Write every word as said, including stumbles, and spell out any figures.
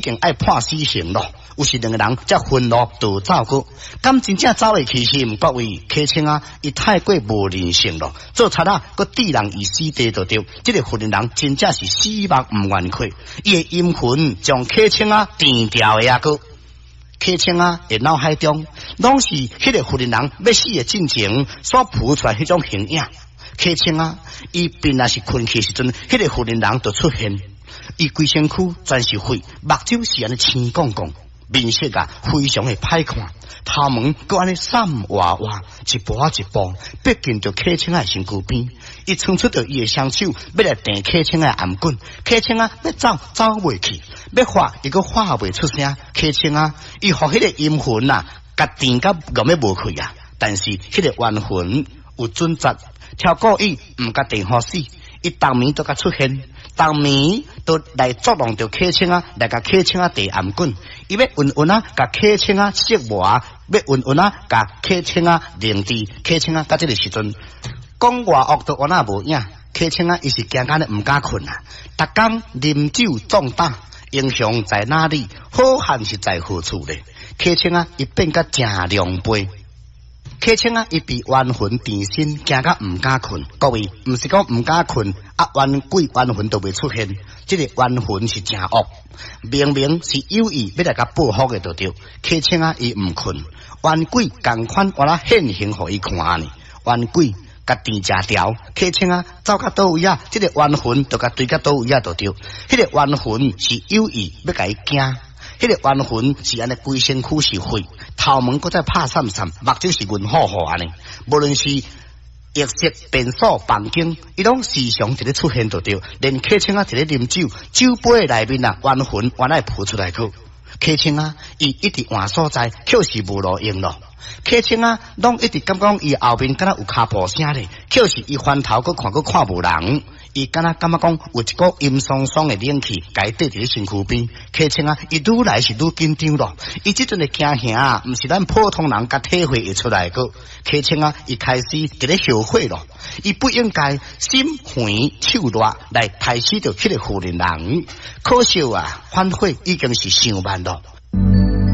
經愛判死刑咯。有時兩个人才分路逃走過，敢真正走會去是毋？各位客卿啊，伊太過無人性咯，做賊仔閣置人於死地就對。這个婦人人真正是死目毋願開，伊的陰魂將客卿啊纏牢的啊閣。客卿啊，的腦海中攏是彼个婦人人欲死的進前所浮出來彼種形影。客卿啊，伊便若是睏去時陣，彼个婦人人就出現，伊規身軀全是血，目睭是按呢青摃摃，面色啊非常的歹看，頭毛閣按呢散歪歪，一步仔一步逼近著客卿仔的身軀邊，伊伸出著伊的雙手，欲來硩客卿仔的頷頸，客卿仔欲走走袂去，欲喊伊閣喊袂出聲，客卿仔，伊予彼个陰魂啊，共纏甲戇欲無氣啊！但是彼个冤魂有準則，超故意毋共硩予死，伊逐暝都共出現，逐暝都來作弄著客卿仔，來共客卿仔硩頷頸，伊欲穩穩仔共客卿仔折磨，欲穩穩仔共客卿仔凌遲，客卿仔到這个時陣講偌惡都原來無影，客卿仔伊是驚甲呢毋敢睏啊！逐工啉酒壯膽，英雄在哪裡？好漢是在何處咧？客卿仔伊變甲誠狼狽。客卿仔，伊被冤魂纏身，驚甲毋敢睏。各位，毋是講毋敢睏，啊冤鬼冤魂都袂出現。這个冤魂是誠惡，明明是有意欲來共報復的，就對。客卿仔，伊毋睏，冤鬼仝款原來現形予伊看呢。冤鬼共纏誠牢，客卿仔走到佗位啊，這个冤魂就共追到佗位啊，就對。彼个冤魂是有意欲共伊驚。彼个冤魂是按呢規身軀是血，頭毛閣再拍散散，目睭是銀糊糊按呢。無論是異色變數房間，伊攏時常佇咧出現就對。連客卿仔佇咧啉酒，酒杯內面啊，冤魂原來浮出來去。客卿仔，伊一直換所在，卻是無路用咯。客卿仔，攏一直感覺講伊後面敢若有跤步聲咧，卻是伊翻頭閣看閣看無人。伊敢若感覺講有一股陰桑桑的冷氣，共伊綴佇咧身軀邊。客卿仔，伊愈來是愈緊張咯。伊這陣的驚嚇，毋是咱普通人共體會會出來個。客卿仔，伊開始佇咧後悔咯。伊不應該心狠手辣來刣死著彼个婦人人。可惜啊，反悔已經是傷慢咯。